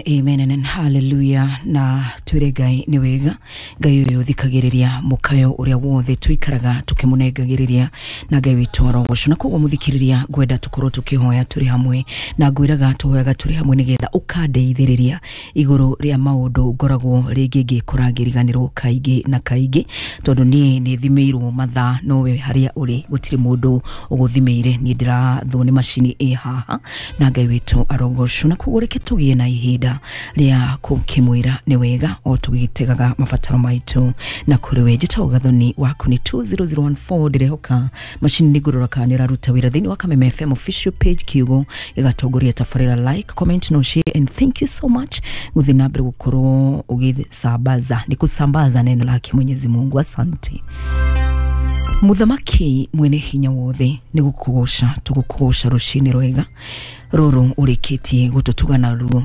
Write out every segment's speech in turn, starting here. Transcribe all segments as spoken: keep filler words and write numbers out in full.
Amen and hallelujah. Na twire Ngai nĩ wega. Ngai ũyũ ũthikagĩrĩria mũkayo ũrĩa wothe tũikaraga tũkĩmũnengagĩrĩria, na Ngai witũ arogocwo. Na koguo mũthikĩrĩria, ngwenda tũkorwo tũkĩhoya tũrĩ hamwe, na ngwĩraga tũhoyaga tũrĩ hamwe nĩgetha ũkandeithĩrĩria igũrũ rĩa maũndũ ngoragwo rĩngĩ ngĩkora ngĩriganĩrwo kaingĩ na kaingĩ, tondũ niĩ nĩ thimĩirwo mathaa, nowe harĩa ũrĩ gũtirĩ mũndũ ũgũthimĩire. Niĩ ndĩrathwo nĩ macini ĩ haha, na Ngai witũ arogocwo. Na koguo reke tũgĩe na ihinda rĩa kũkĩmwĩra nĩ wega o tũgĩtegaga mabataro maitũ na kũrĩ we. Njĩtagwo Gathoni waku nĩ two zero zero one four. Ndĩrehoka macini nĩ ngũrora kana nĩ ĩraruta wĩra thĩinĩ wa Kameme F M official page. Kiugo gĩgatongoria tabarĩra, like, comment no share, and thank you so much gũthiĩ na mbere gũkorwo ũgĩsambaza, nĩ kusambaza neno lake Mwenyezi Mungu. Asante. Muthamaki mwene hinya wothe, nĩ gũkũgoca tũgũkũgoca rũcinĩ rwega rũrũ ũrĩkĩtie gũtũtuga naruo.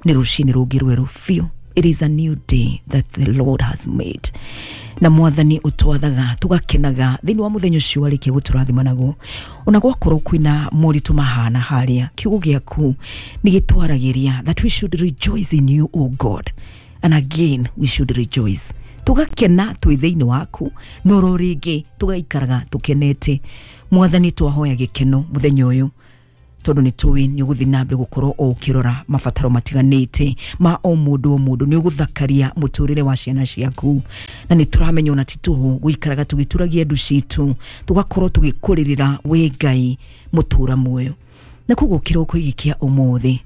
Nĩ rũcinĩ rũngĩ rwerũ biũ. It is a new day that the Lord has made. Na mwathani ũtwathaga tũgakenaga thĩinĩ wa mũthenya ũcio warĩkia gũtũrathima naguo, ona gwakorwo kwĩna moritũ mahana harĩa, kiugo gĩaku nĩ gĩtwaragĩria that we should rejoice in you, O God, and again we should rejoice. Tũgakena twĩ thĩinĩ waku, no ro rĩngĩ tũgaikaraga tũkenete. Mwathani, twahoya gĩkeno mũthenya ũyũ, tondũ nĩ tũĩ nĩ ũgũthiĩ na mbere gũkorwo o ũkĩrora mabataro matiganĩte ma o mũndũ o mũndũ. Nĩ ũgũthakaria mũtũrĩre wa ciana ciaku, na nĩ tũramenya ona ti tũhũ gũikaraga tũgĩturagia ndu citũ, tũgakorwo tũgĩkũrĩrĩra wĩ Ngai mũtũra muoyo. Na koguo kĩroko gĩkĩ kĩa ũmũthĩ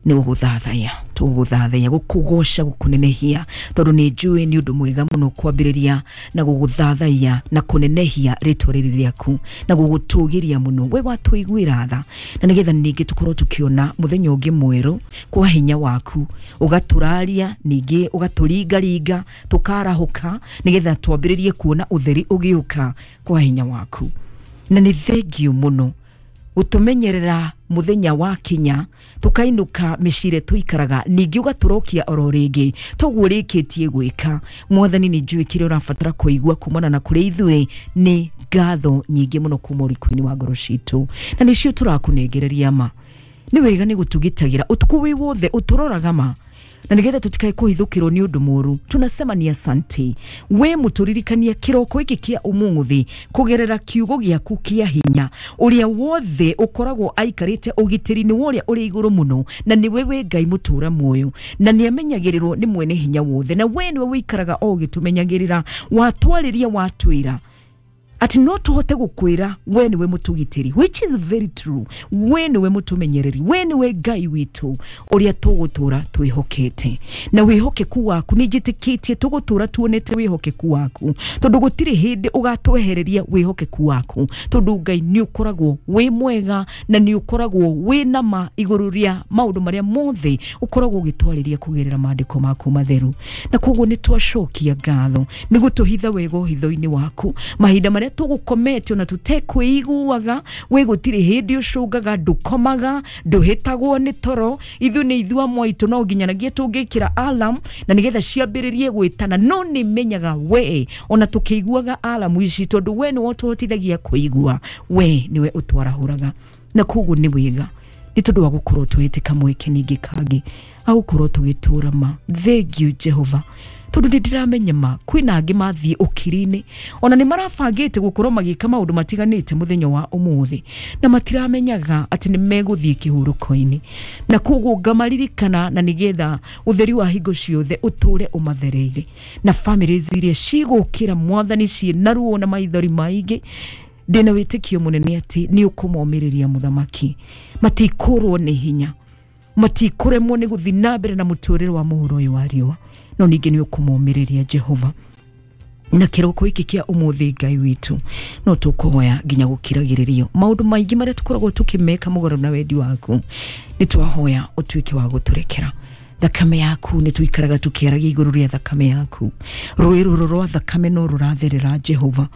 nĩ gũgũthathaiya, tũgũgũthathaiya, gũkũgoca, gũkũnenehia, tondũ nĩ njũĩ nĩ ũndũ mwega mũno kwambĩrĩria na gũgũthathaiya na kũnenehia rĩtwa rĩrĩ rĩaku na gũgũtũgĩria mũno. We watũiguĩra tha, na nĩgetha ningĩ tũkorwo tũkĩona mũthenya ũngĩ mwerũ kwa hinya waku, ũgatũraria ningĩ ũgatũringaringa tũkarahũka, nĩgetha twambĩrĩrie kuona ũtheri ũgĩũka kwa hinya waku. Na nĩ thengiũ mũno gũtũmenyerera mũthenya wa kinya tukainũka mĩciĩ tũikaraga, ningĩ ũgatũrokia oro rĩngĩ toguo ũrĩkĩtie gwĩka. Mwathani, nĩ njũĩ kĩrĩa ũrabatara kũigua kumana na kũrĩ ithuĩ nĩ ngatho nyingĩ mũno kuma ũriku-inĩ wa ngoro citũ, na nĩcio tũrakũnengereria. Ma nĩ wega nĩ gũtũgitagĩra ũtukũ wĩ wothe, ũtũroraga ma, na nigetha tutikae kũhithũkĩrwo nĩ ũndũ mũru. Tunasema ni asante. We mũtũririkania kĩroko gĩkĩ kĩa ũmũthĩ kũgerera kiugo gĩaku kĩa hinya, ũrĩa wothe ũkoragwo aikarĩte ũgitĩri-inĩ wa ũrĩa ũrĩ igũrũ mũno, na nĩwe wĩ Ngai mũtũra muoyo, na nĩ amenyagĩrĩrwo nĩ mwene hinya wothe, na we nĩwe wĩikaraga o ũgĩtũmenyagĩrĩra. Watwarĩria, watwĩra ati no tuhote gukwira we niwe mutugitiri, which is very true. We niwe mutumenyereri, we niwe Ngai witu uria tugutura twihokete, na wihokeku waku ni njitikitie tugutura tuonete wihokeku waku, tondu gutiri hindi ugatwehereria wihokeku waku, tondu Ngai ni ukoragwo wi mwega na ni ukoragwo wi na ma iguru ria maundu maria mothe ukoragwo ugitwariria kugerera maandiko maku matheru. Na koguo ni twacokia ngatho ni gutuhitha wega hitho-ini waku mahinda maria tũgũkomete ona tũtekwĩiguaga. We gũtirĩ hĩndĩ ũcũngaga, ndũkomaga, ndũhĩtagwo nĩ toro. Ithuĩ nĩ ithuĩ amwe aitũ no nginyanagia tũngĩkĩra alarm na nĩgetha ciambĩrĩrie gwĩtana, no nĩ menyaga we ona tũkĩiguaga alarm ici, tondũ we nĩwe ũtũhotithagia kũigua, we nĩwe ũtwarahũraga. Na koguo nĩ wega nĩ tondũ wa gũkorwo tũhĩte kamweke ningĩ kangĩ agũkorwo tũgĩtũra ma. Thank you, Jehova, tondu nĩ ndĩramenya ma kwĩna angĩ mathiĩ ũkiri-inĩ, ona nĩ marabangĩte gũkorwo magĩka maũndũ matiganĩte mũthenya wa ũmũthĩ, na matiramenyaga atĩ nĩ megũthiĩ kĩhurũko-inĩ. Na koguo ngamaririkana, na nĩgetha ũtheri wa hingo ciothe ũtũre ũmathereire, na families iria cigũkĩra mwathani ciĩ na ruo na maithori maingĩ, ndĩna wĩtĩkio mũnene atĩ nĩ ũkũmomĩrĩria mũthamaki. Matikũrwo nĩ hinya, matikũremwo nĩ gũthiĩ na mbere na mũtũrĩre wa mũhuro ũyũ wa riũa, no ningĩ nĩ ũkũmomĩrĩria Jehova. Na kĩroko gĩkĩ kĩa ũmũthĩ, Ngai witũ, no tũkũhoya nginya gũkiragĩrĩrio maũndũ maingĩ marĩa tũkoragwo tũkĩmeka mũgarũ na wendi waku. Nĩ twahoya ũtuĩke wa gũtũrekera. Thakame yaku, nĩ tũikaraga tũkĩaragia igũrũ rĩa thakame yaku. Rũĩ rũrũ rwa thakame no rũratherera, Jehova,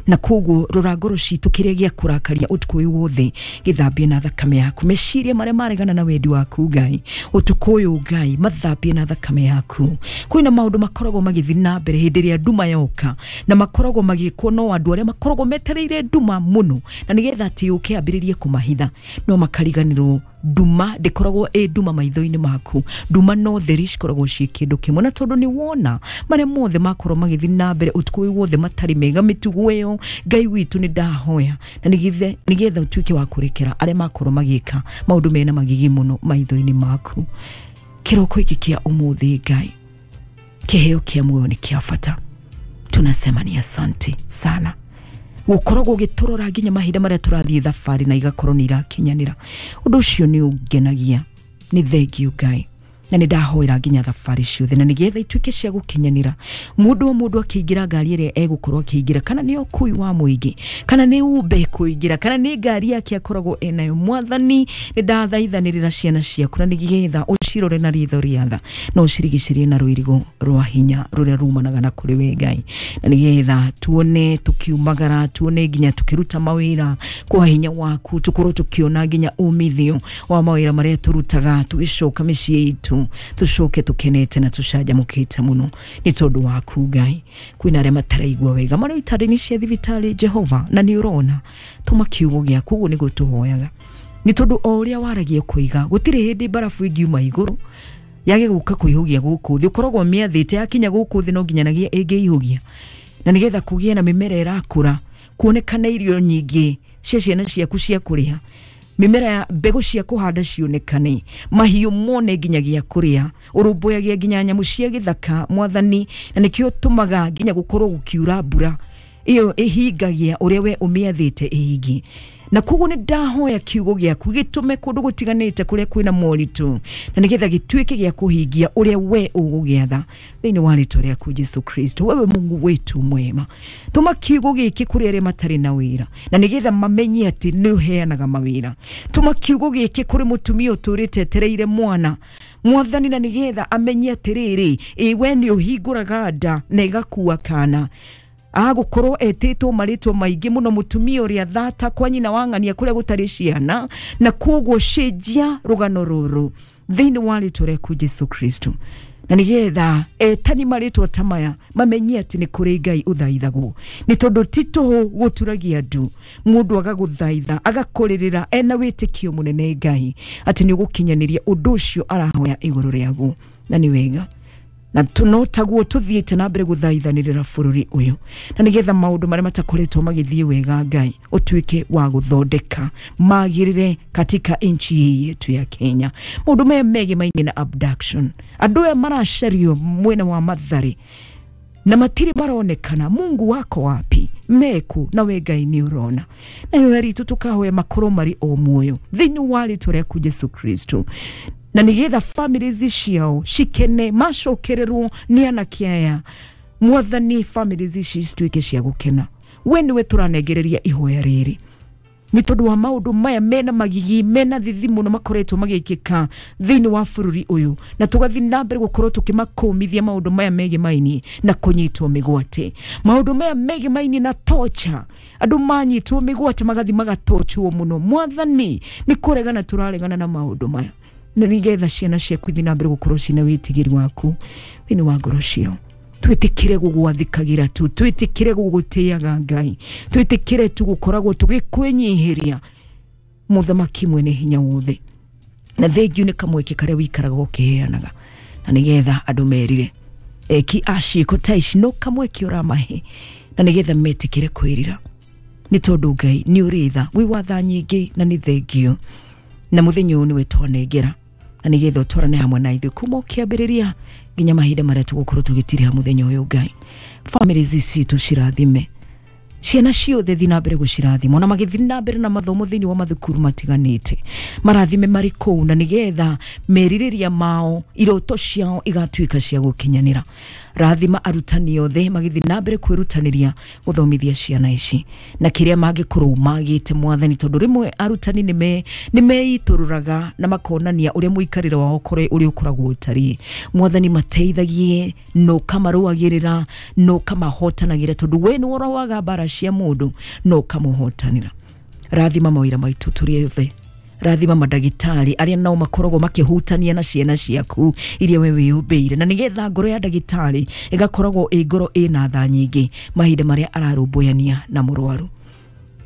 na koguo rora ngoro citũ, kĩrĩa gĩa kũrakaria ũtukũ ũyũ wothe gĩthambie na thakame yaku. Meciria marĩa maregana na wendi waku, Ngai, ũtukũ ũyũ, Ngai, mathambie na thakame yaku. Kwĩna maũndũ makoragwo magĩthiĩ na mbere hĩndĩ ĩrĩa nduma yoka, na makoragwo magĩkwo no andũ arĩa makoragwo metereire nduma mũno, na nĩgetha atĩ yũke ambĩrĩrie kũmahitha, no makariganĩrwo Nduma ndĩkoragwo ĩ nduma maitho-inĩ maku, nduma no theri cikoragwo ciĩ kĩndũ kĩmwe. Na tondũ nĩ wona marĩa mothe makorwo magĩthiĩ na mbere ũtukũ ũyũ wothe matarĩ mega, mĩtugo ĩyo Ngai witũ nĩ ndahoya na nĩgetha nĩgetha ũtuĩke wa kũrekera arĩa makorwo magĩka maũndũ mena magigi mũno maitho-inĩ maku. Kĩroko gĩkĩ kĩa ũmũthĩ Ngai, kĩheo kĩa muoyo nĩ kĩa bata, tunasema ni asante sana gukoragwo gĩtũrora nginya mahinda marĩa tũrathiĩ thabarĩ na igakorwo nĩ irakinyanĩra. Ũndũ ũcio nĩ ũngenagia, nĩ thengiũ Ngai, na nĩ ndahoera nginya thabarĩ ciothe na nĩgetha ituĩke cia gũkinyanĩra. Mũndũ o mũndũ akĩingĩra ngari ĩrĩa egũkorwo akĩingĩra, kana nĩ ũkui wa mũingĩ, kana nĩ umbe kũingĩra, kana nĩ ngari yake akoragwo enayo, Mwathani nĩ ndathaithanĩrĩra ciana ciaku na nĩgetha ũcirore na ritho rĩa tha na ũcirigicĩrie na rũirigo rwa hinya rũrĩa rumanaga na kũrĩ we Ngai, na nĩgetha tuone tukiumagara, tuone nginya tukiruta mawĩra kwa hinya waku, tukorwo tukiona nginya umithio wa mawĩra marĩa tũrutaga tũgĩcoka mĩciĩ itũ, tucoke tukenete na tucanjamũkĩte mũno nĩ tondũ waku Ngai. Kwĩna arĩa mataraigua wega marĩ itanda-inĩ cia thibitarĩ Jehova, na nĩ ũrona, tũma kiugo gĩaku, ũguo nĩguo tũhoyaga, nĩ tondũ o ũrĩa waragia kũiga gũtirĩ hĩndĩ mbarabu ĩngiuma igũrũ yage gũka kũihũgia gũkũ thĩ, ũkoragwo mĩathĩte yakinya gũkũ thĩ no nginyanagia ĩngĩihũgia, na nĩgetha kũgĩe na mĩmera ĩrakũra, kuonekane irio nyingĩ cia ciana ciaku cia kũrĩa, mĩmera ya mbegũ cia kũhanda cionekane, mahiũ mone nginya gĩa kũrĩa, ũrũmbũyagia nginya nyamũ cia gĩthaka Mwathani, na nĩkĩo tũmaga nginya gũkorwo gũkiura mbura ĩyo ĩhingagia ũrĩa we ũmĩathĩte ĩhingie. Na koguo nĩ ndahoya kiugo gĩaku gĩtũme kũndũ gũtiganĩte kũrĩa kwĩna moritũ, na nĩgetha gĩtuĩke gĩa kũhingia ũrĩa we ũgũgĩatha thĩinĩ wa rĩtwa rĩaku Jesu Kristo. Wewe Mungu wetu mwema, tũma kiugo gĩkĩ kũrĩ arĩa matarĩ na wĩra, na nĩgetha mamenye atĩ nĩ ũheanaga mawĩra. Tũma kiugo gĩkĩ kũrĩ mũtumia ũtũrĩte etereire mwana Mwathani, na nĩgetha amenye atĩrĩrĩ, ĩ we nĩ ũhingũraga nda na ĩgakua kana. Agũkorwo etĩtwo marĩtwa maingĩ mũno, mũtumia ũrĩa thata kwa nyina wa ng'ania kũrĩa gũtarĩ ciana, na koguo cenjia rũgano rũrũ thĩinĩ wa rĩtwa rĩaku Jesu Kristo, na nĩgetha etani marĩtwa ta maya mamenye atĩ nĩ kũrĩ Ngai ũthaithagwo, nĩ tondũ ti tũhũ gũturagia ndu mũndũ agagũthaitha agakũrĩrĩra ena wĩtĩkio mũnene Ngai atĩ nĩ ũgũkinyanĩria ũndũ ũcio arahoya igũrũ rĩaguo, na nĩ wega. Na tunotaguo tuthiĩte na mbere gũthaithanĩrĩra bũrũri ũyũ, na nĩgetha maũndũ marĩa matakoretwo magĩthiĩ wega Ngai ũtuĩke wa gũthondeka magĩrĩre katika nchi hii yetu ya Kenya. Maũndũ maya megemainie na abduction, andũ aya maracario mwena wa Mathare na matirĩ maronekana, Mungu wako wapi? Meku na we Ngai nĩ ũrona. Nayo ritũ tũkahoya makorwo marĩ o muoyo thĩinĩ wa rĩtwa rĩaku Jesu Kristo, na nĩgetha families ciao cikene macokererwo nĩ anake aya Mwathani, families ici cituĩke cia gũkena. We nĩwe tũranengereria ihoya rĩrĩ nĩ tondũ wa maũndũ maya mena magigi mena thithi mũno makoretwo magĩkĩka thĩinĩ wa bũrũri ũyũ, na tũgathiĩ na mbere gũkorwo tũkĩmakũmithia maũndũ maya megemainie na kũnyitwo mĩgwate, maũndũ maya megemainie na torture, andũ manyitwo mĩgwate magathiĩ magatochwo mũno. Mwathani, nĩ kũregana tũraregana na maũndũ maya, na nĩgetha ciana ciaku ithiĩ na mbere gũkorwo ciĩna wĩtigĩri waku thĩinĩ wa ngoro ciao. Twĩtĩkĩre gũgwathĩkagĩra tu, twĩtĩkĩre gũgũtĩaga Ngai, twĩtĩkĩre tu gũkoragwo tũgĩkwĩnyihĩria Mũthamaki mwene hinya wothe. Na thengiũ nĩ kamweke karĩa wĩikaraga ũkĩheanaga, na nĩgetha andũ merire eki a ciĩko ta ici no kamweke ũramahe, na nĩgetha metĩkĩre kwĩrira, nĩ tondũ Ngai nĩ ũrĩ tha, wĩ wa tha nyingĩ, na nĩ thengiũ. Na mũthenya ũyũ nĩwe twanengera, na nĩgetha ũtwarane hamwe na ithuĩ kuma ũkĩambĩrĩria nginya mahinda marĩa tũgũkorwo tũgĩtiriha mũthenya ũyũ Ngai. Families citũ cirathime, ciana ciothe thiĩ na mbere gũcirathima, ona magĩthiĩ na mbere na mathomo thĩinĩ wa mathukuru matiganĩte, marathime marĩ kũu, na nĩgetha merirĩria mao, iroto ciao igatuĩka cia gũkinyanĩra. Rathima arutani othe magĩthiĩ na mbere kwĩrutanĩria gũthomithia ciana ici na kĩrĩa mangĩkorwo magĩte Mwathani, tondũ rĩmwe arutani nĩme nĩmeitũrũraga na makonania ũrĩa mũikarĩre wao kũrĩ ũrĩa ũkoragwo ũtariĩ. Mwathani, mateithagie no kamarũagĩrĩra, no kamahotanagĩra, tondũ we nĩwe ũrũaga mbara cia mũndũ no kamũhotanĩra. Rathima mawĩra maitũ tũrĩ othe, rathima mandagĩtarĩ arĩa nao makoragwo makĩhutania na ciana ciaku iria we wĩyũmbĩire, na nĩgetha ngoro ya ndagĩtarĩ ĩgakoragwo ĩ ngoro ĩna tha nyingĩ mahinda marĩa ararũmbũyania na mũrwaru.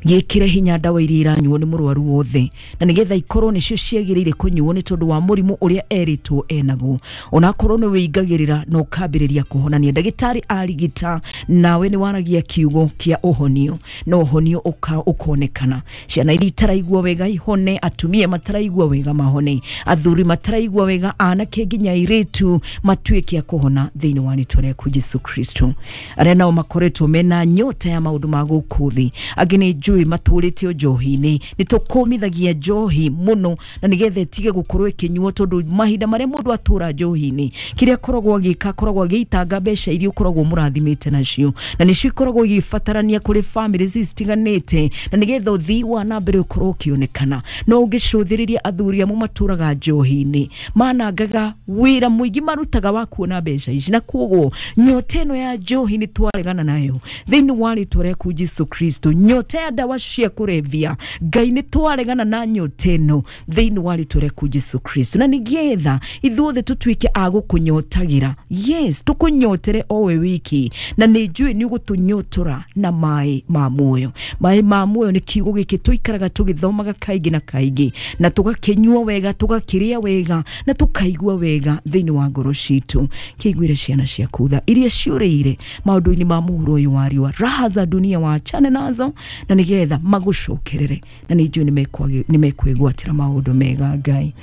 Gĩkĩre hinya ndawa iria iranyuo nĩ mũrwaru wothe, na nĩgetha ikorwo nĩcio ciagĩrĩire kũnyuo nĩ tondũ wa mũrimũ ũrĩa erĩtwo enaguo. Onakorwo nĩ wĩingagĩrĩra na ũkambĩrĩria kũhonania, ndagĩtarĩ arigita nawe nĩ waragia kiugo kĩa ũhonio na ũhonio ũkonekana. Ciana iria itaraigua wega ihone, atumia mataraigua wega mahone, athuri mataraigua wega, anake nginya airĩtu matuĩke a kũhona thĩinĩ wa rĩtwa rĩaku Jesu Kristo. Arĩa nao makoretwo mena nyota ya maũndũ ma gũkũ thĩ, angĩ nĩ njũĩ matũrĩte njohi-inĩ, nĩ tũkũmithagia njohi mũno na nĩgetha ĩtige gũkorwo ĩkĩnyuo, tondũ mahinda marĩa mũndũ atũra njohi-inĩ kĩrĩa akoragwo agĩka akoragwo agĩitanga mbeca iria ũkoragwo mũrathimĩte nacio, na nĩcio ikoragwo igĩbatarania kũrĩ famĩlĩ citiganĩte, na nĩgetha ũthii wa na mbere ũkorwo ũkĩonekana. No ũngĩcũthĩrĩria athuri amwe matũraga njohi-inĩ manangaga wĩra mũingĩ marutaga wa kuona mbeca ici, na koguo nyota ĩno ya njohi nĩ twaregana nayo thĩinĩ wa rĩtwa rĩaku Jesu Kristo. Nyota ya ndawa cia kũrebia, Ngai nĩ twaregana na nyota ĩno thĩinĩ wa rĩtwa rĩaku Jesu Kristo, na nĩgetha ithuothe tũtuĩke a gũkũnyotagira. Yes, tũkũnyotere o we wiki, na nĩ njũĩ nĩ ũgũtũnyotora na maĩ ma muoyo. Maĩ ma muoyo nĩ kiugo gĩkĩ tũikaraga tũgĩthomaga kaingĩ na kaingĩ, na tũgakĩnyua wega, tũgakĩrĩa wega, na tũkaigua wega thĩinĩ wa ngoro citũ. Kĩiguĩre ciana ciaku tha iria ciũrĩire maũndũ-inĩ ma mũhuro ũyũ wa riũa, raha za dunia waachane nazo, na nĩgetha magũcokerere, na nĩ njũĩ nĩ mekwĩgwatĩra maũndũ mega. Ngai,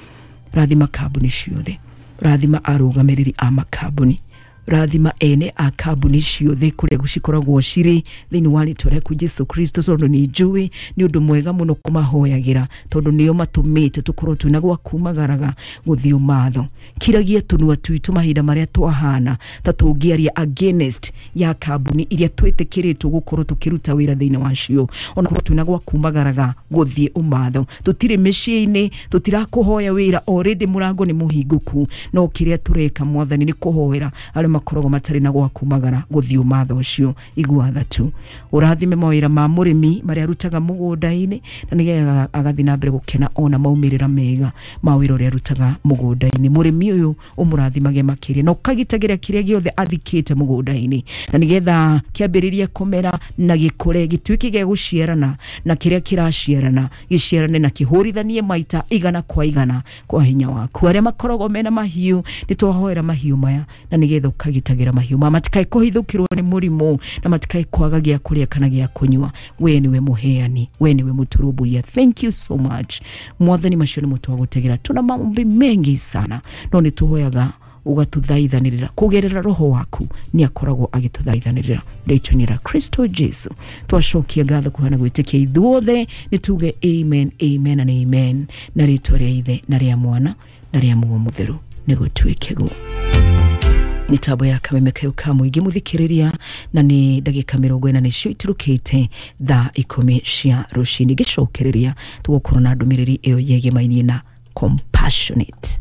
rathima kambuni ciothe, rathima arũgamĩrĩri a makambuni, rathima ene a kambuni ciothe kũrĩa cikoragwo cirĩ thĩinĩ wa rĩtwa rĩaku Jesu Kristo, tondũ nĩ njũĩ nĩ ũndũ mwega mũno kũmahoyagĩra, tondũ nĩo matũmĩte tũkorwo twĩna gwa kumagaraga gũthiĩ ũmatho. Kiragia tũnua twitũ mahinda marĩa twahana ta tũngĩaria against ya kambuni iria twĩtĩkĩrĩtwo gũkorwo tũkĩruta wĩra thĩinĩ wacio, onakorwo twĩna gwa kumagaraga gũthiĩ ũmatho. Tũtirĩ mĩciĩ-inĩ, tũtirakũhoya wĩra, already mũrango nĩ mũhingũku, no kĩrĩa tũreka Mwathani nĩ kũhoera arĩa makoragwo matarĩ na gwa kumagara gũthiĩ ũmatho ũcio. Igua tha tu, ũrathime mawĩra ma mũrĩmi marĩa arutaga mũgũnda-inĩ, na nĩgetha agathiĩ na mbere gũkena ona maumĩrĩra mega ma wĩra ũrĩa arutaga mũgũnda-inĩ. Mũrĩmi ũyũ ũmũrathimage makĩria na ũkagitagĩra kĩrĩa gĩothe athikĩte mũgũnda-inĩ, na nĩgetha kĩambĩrĩrie kũmera na gĩkũre gĩtuĩke gĩa gũciarana, na kĩrĩa kĩraciarana gĩciarane na kĩhũrithanie maita igana kwa igana kwa hinya waku. Arĩa makoragwo mena mahiũ, nĩ twahoera mahiũ maya, na nĩgetha ũkagitagĩra mahiũ maya matikae kũhithũkĩrwo nĩ mũrimũ, na matikae kwaga gĩa kũrĩa kana gĩa kũnyua. We nĩwe mũheani, we nĩwe mũtũrũmbũiya. Thank you so much Mwathani, macio nĩmo twagũtegera. Tuna maombi mengi sana, no nĩ tũhoyaga ũgatũthaithanĩrĩra kũgerera roho waku, nĩ akoragwo agĩtũthaithanĩrĩra rĩtwa-inĩ rĩa Kristo Jesu. Twacokia ngatho kũhana gwĩtĩkia ithuothe, nĩ tuge amen, amen and amen, na rĩtwa rĩa Ithe na rĩa Mwana na rĩa Muoyo Mũtheru nĩ gũtuĩke guo. Mitambo ya Kameme kayo ka mũingĩ mũthikĩrĩria, na nĩ ndagĩka mĩrongo ĩna nĩcio iturũkĩte thaa ikũmi cia rũcinĩ. Ngĩcokereria tũgũkorwo na ndũmĩrĩri ĩyo yegemainie na compassionate.